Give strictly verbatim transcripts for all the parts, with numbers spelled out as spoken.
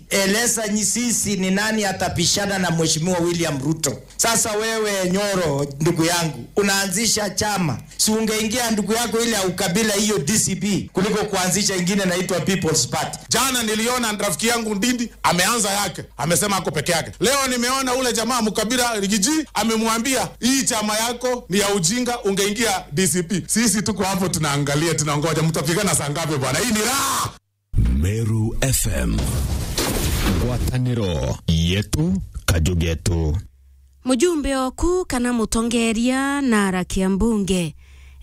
Eleza nyi-, sisi ni nani atapishana na Mheshimiwa William Ruto. Sasa wewe Nyoro, ndugu yangu, unaanzisha chama. Si ungeingia ndugu yako ile ya ukabila hiyo D C P kuliko kuanzisha ingine inaitwa People's Party. Jana niliona rafiki yangu Ndindi ameanza yake, amesema ako peke yake. Leo nimeona ule jamaa mkabila Rigiji amemwambia, "Hii chama yako ni ya ujinga, ungeingia D C P." Sisi tuko hapo tunaangalia, tunangoja. Mtapigana saa ngapi bwana? Hii ni raha. Meru F M. Ngwataniro yetu, kaju getu. Mujumbe oku kana mutongeria na arakia mbunge.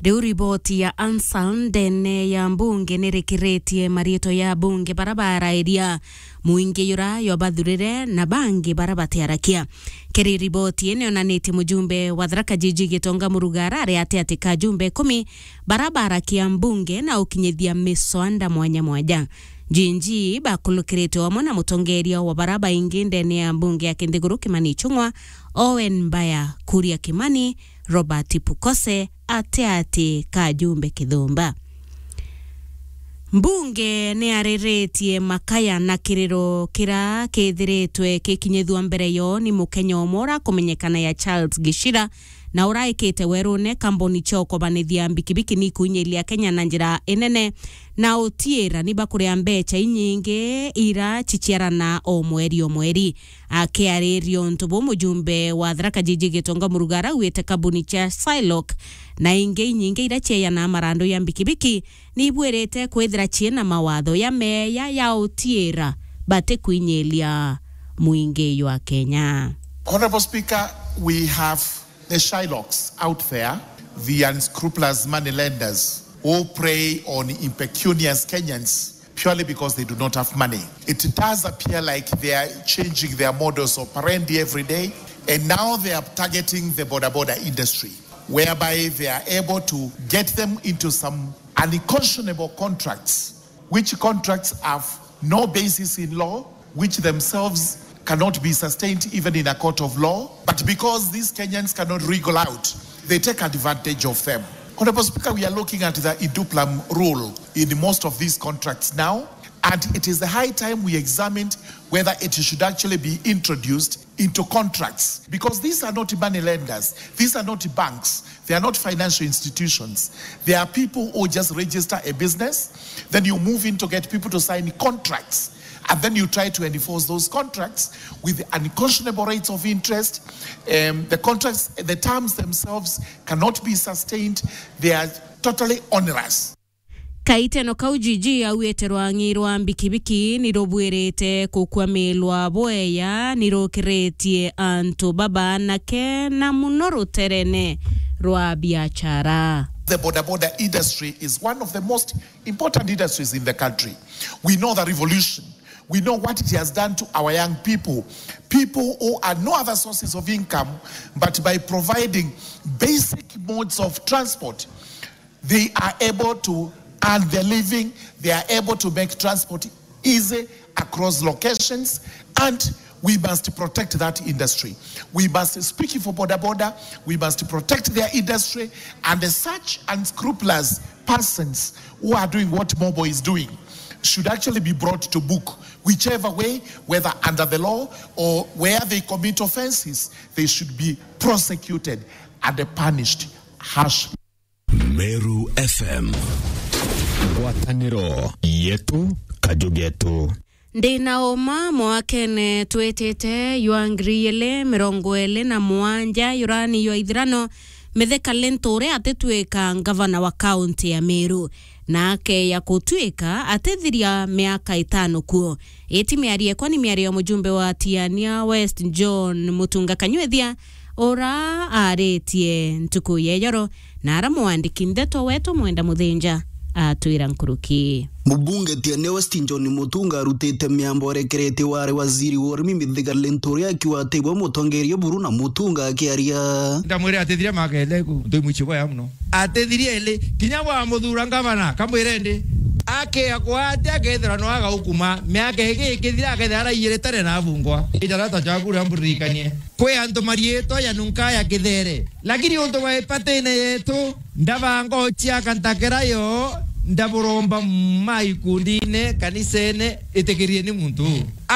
Riu riboti ya Ansal ndene ya mbunge nirikiritie mariitwa ya mbunge bara barairia, mwingi yura yobathurire na bangi bara batiarakia. Kiri riboti ii nionanitie mujumbe wa Tharaka Jiji Gitonga Murugara ari ati ati ka ajumbe ikumi bara barakia mbunge na ukinyithia miswanda mwanya mwanya. Jinji bakulukirite amwe na mutongeria wa bara baingi ndene ya mbunge ya Kinthiguru Kimani Ichung'wa, Owen Mbaya, Kuria Kimani, Robert Pukose, ati ati ka ajumbe Kithumba. Mbunge ni ariritie makaya na kiriro kira kithiritwe kikinyithua mbere yo ni mukenya umwe ura kumenyekana ya Charles Gishira, na uraikite werune kambuni cia ukobanithia mbikibiki ni kuinyiria Kenya na njira inene, na utiira ni bakuria mbecha inyingi ira ciciarana o mweri o mweri. Akiariria untu buu, mujumbe wa Tharaka Jiji Gitonga Murugara augite kambuni cia Shylock na ingi inyingi ira cieyana marandu ya mbikibiki ni ibwirite kwithira ciina mawatho ya meeya ya utiira batikwinyiria mwingi jwa Kenya. Honorable Speaker, we have the Shylocks out there, the unscrupulous money lenders who prey on impecunious Kenyans purely because they do not have money. It does appear like they are changing their modus operandi every day, and now they are targeting the boda boda industry, whereby they are able to get them into some unconscionable contracts, which contracts have no basis in law, which themselves cannot be sustained even in a court of law. But because these Kenyans cannot wriggle out, they take advantage of them. Honorable Speaker, we are looking at the in duplam rule in most of these contracts now, and it is the high time we examined whether it should actually be introduced into contracts, because these are not money lenders, these are not banks, they are not financial institutions. They are people who just register a business, then you move in to get people to sign contracts, and then you try to enforce those contracts with unconscionable rates of interest. Um, the contracts, the terms themselves cannot be sustained. They are totally onerous. Kaiteno kau Jiji augite rwang'i rwa mbikibiki ni rubwirite kukwamilwa bweya, ni rukiritie antu babanake na muno ruterene rwa biachara. The boda boda industry is one of the most important industries in the country. We know the revolution. We know what it has done to our young people, people who had no other sources of income but by providing basic modes of transport. They are able to earn their living, they are able to make transport easy across locations, and we must protect that industry. We must speak for boda boda, we must protect their industry, and such unscrupulous persons who are doing what Mobo is doing should actually be brought to book, whichever way, whether under the law or where they commit offences, they should be prosecuted and punished harshly. Meru F M. Ngwataniro yetu, kaju getu. Ndi na uma mwakene twitite jwa ngiri igiri mirongo iri na mugwanja, yurani jwa ithirano, Mithika Linturi atitwika ngavana wa kaunti ya Meru, na akeya kutwika atithiria miaka itano kuo. Iti miario ekwa ni miario ya mujumbe wa Tiania West John Mutunga Kanywithia, ura aritie ntuku ya ijoro na ara mwandiki ndeto wetu Mwenda Muthinja atwira nkuruki. Mubunge Tiania West John Mutunga arutite miambo arekeretie wari waziri wa urimi Mithika Linturi akiuga ati we mutongeria buru na Mutunga akiaria. Ndamwire atithiria makele ku, ntu mwichi bwaya muno. Atithiria ili, kinya bwa muthura ngavana, kamwire ndi. Akia kwati akethira no agaukuma, miaka ingi ikithira akethira araiyire tene na abungwa. Ijarata jaku ria mburirikanie. Kwi antu mariitwa ya nunka ya kithere. Lakini untu bwa ipatine yetu, ndabanga uciaka ntakera yo, ndaburomba ma ikundine, kanisene, itikirieni muntu. A